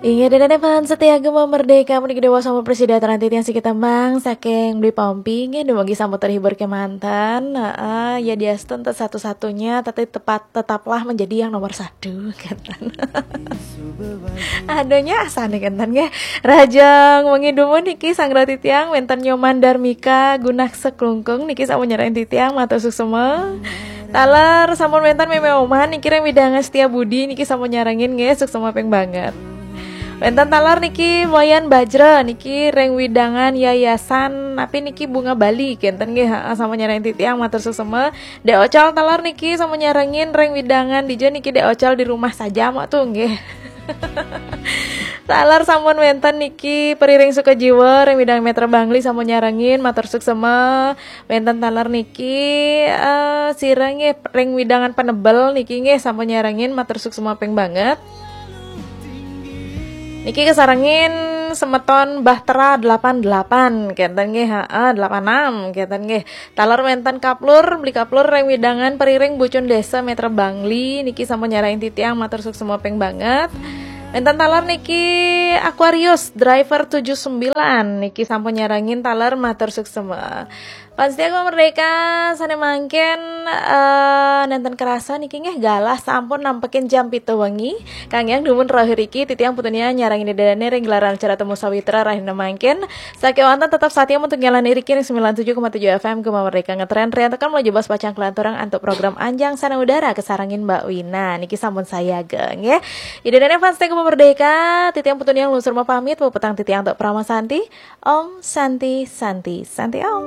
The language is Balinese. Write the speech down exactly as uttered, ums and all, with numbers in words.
Inggih, ida dané fans setia Gema Merdeka, puniki déwa sampun prasida teranti tiang siki tembang saking Beli Pompi, inggih, dumugi sampun terhibur kemanten. Heeh, ya diastun satu-satunya, tapi tepat, tetaplah menjadi yang nomor satu, kenten. Adohnya asane kenten nggih. Rahajeng wengi dumun niki sareng titiang wenten Nyoman Darmika Gunaksa Klungkung niki sampun nyarengin titiang, matur suksma. Taler sampun wenten Meme Oman niki ring wewidangan Setia Budi niki sampun nyarengin nggih, suksma ping banget. Wenten taler niki Wayan Bajra niki ring wewidangan Yayasan napi niki Bunga Bali kenten nggih, heeh, sampun nyarengin titiang, matur suksma. Dek Ocal taler niki sampun nyarengin ring wewidangan dija niki Dek Ocal di rumah saja mok tuh nggih. Taler sampun wenten niki Periring Sukajiwa ring wewidangan Metra Bangli sampun nyarengin, matur suksma. Wenten taler niki eh sira nggih ring wewidangan Penebel niki nggih sampun nyarengin, matur suksma ping banget. Niki kasarengin semeton Bahtera delapan delapan kenten nggih, heeh, delapan enam kenten nggih. Taler wenten Kaplur, Beli Kaplur ring wewidangan Periring Bucun Desa Metra Bangli niki sampun nyarengin titiang, matur suksma ping banget. Wenten taler niki Aquarius driver tujuh sembilan niki sampun nyarengin taler, matur suksma. Fans setia Gema Merdeka sane mangkin eh nenten kerasa niki nggih galah sampun nampekin jam pitu wengi. Kang yang dumun terakhir iki titiang putunia nyarengin ida dané ring gelaran acara Temu Sawitra rahina mangkin. Sakewanten tetap setia untuk ngelan iriki ring sembilan tujuh koma tujuh F M Gema Merdeka ngetren riantukan menuju bas pacang kelanturang antuk program Anjang Sana Udara kasarengin Mbak Wina. Niki sampun sayaga nggih. Ida dané fans setia Gema Merdeka, titiang putunia nglungsur pamit, puputang titiang antuk Parama Santi. Om Santi, Santi, Santi Om.